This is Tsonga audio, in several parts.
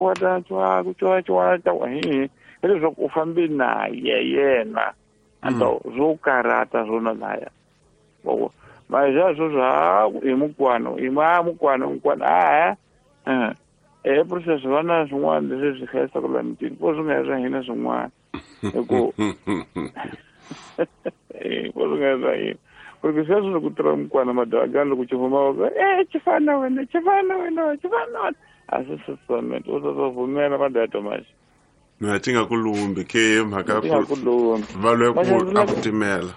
Wa ta twa ku twa twa ta hi leswaku u fambe na yena anto zwo karata swona laya ma sweswo swa i mukwano i ma mukwano mukwano a e process va na swin'wana leswi swi hlayisaka la mitini po swi nga swa hina swin'wana hi ku po swi nga swa hina porque sweswo loko tirha mukwana madagani loko xi famba va e xi fana wena xi fana wena xi fana wena a swi sasament u ta pfumela madata maxi mina ti nga ku lumbi ke mhaka ya ku lumbi va lwe ku a ku timela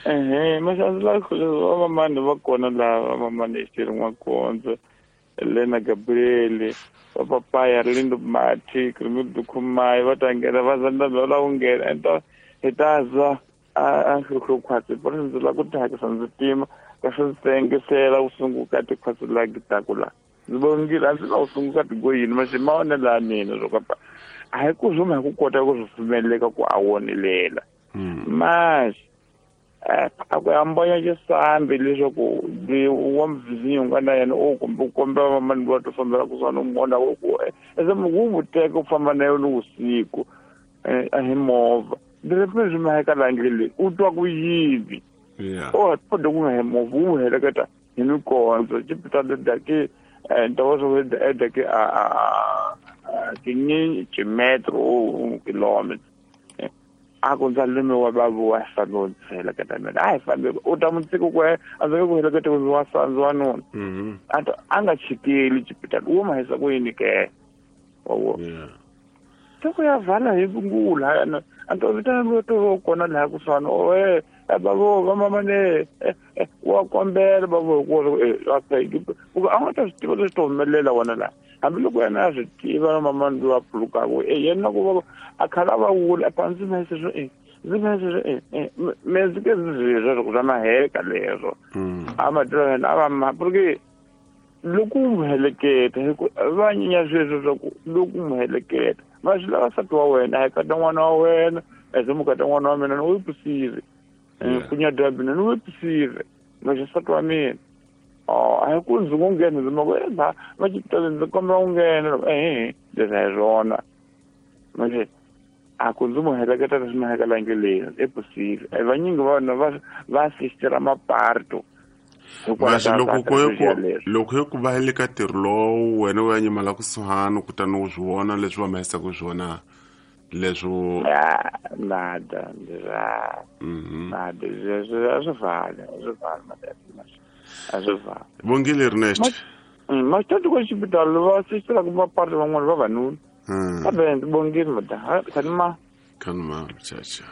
ehe maxandzi la vamamani va kona laha vamamani exiteri n'wakondzo Lena Gabriel va papaya Lindo Mati Krimidu Khumai va ta nghena va za va lava ku nghena enta hi ta za a nhluhlukhwatsi por ndzi lava ku tihakisa ndzi tima kasi ndzi tengisela ku sunguka tikhwatsi la gitaku la ndzi vongile a ndzi la ku sunguka tigoyini maxi ma onela ya mina swo kapa a hi ku zuma hi ku kota ku swi pfumeleka ku a wonelela maxi a ku hambanya xisambi leswaku wa muvhizinyo nga na yena o kumbe u kombela vamani va to fambela kusuhani u mona ku ese wu n'wi teka u famba na yona vusiku a hi movha ndzi ri swi maheka laha ndleleni u twa ku yini o kode ku nga hi movha wu n'wi heleketa hi mikondzo xipitalo daki ntokozo daki a kinyi ximetro kilometer a ku ndza lume wa babu wa salo ndzi heleketa mina a hi fambi u ta n'wi tshika ku a ndzi nge ku heleketa ku ndzi wa sandzi wanuna a ta a nga chikeli xipitalo wo ma hisa ku yini ke wa wo se ku ya vala hi vungula yana a to vitana loyi to va kona laha kusuhani oe bavo va mama ne wa kombela bavo hi ku a nga ta swi tiva leswi to humelela wona laha hambiloko yena a swi tiva na mama loyi a pfulukaka e yena ku va a khala va wula a ndzi ma sweswo e ndzi ma sweswo e me ndzi ke ndzi sweswo swa maheka leswo a ma tiva yena a va ma porque loko u n'wi heleketa hi ku va nyinya sweswo swa ku loko u n'wi heleketa ma swi lava nsati wa wena a hi kata n'wana wa wena eze mukata n'wana wa mina ni wi pusive ku nyadya mina ni wi pusive ma xi nsati wa mina a hi ku ndzi ngo nghena ndzi ma ku e ba va xipitali ndzi kombela ku nghena ehe leswi a hi swona manje a ku ndzi n'wi heleketa leswi ma hekela ndleleni e pusive vanyingi va vona va va sistera maparto Maxi loko ku loko yo ku va le ka ntirho lowu wena u ya nyimala kusuhani kutani u swi vona leswi va mahisaka swona leswo nada nada a swi fani a swi fani a swi fani vongile Ernest maxitati ko xipitalo va sistelaka maparto van'wana vavanuna kambe ndzi bongile mada khanima khanima chacha.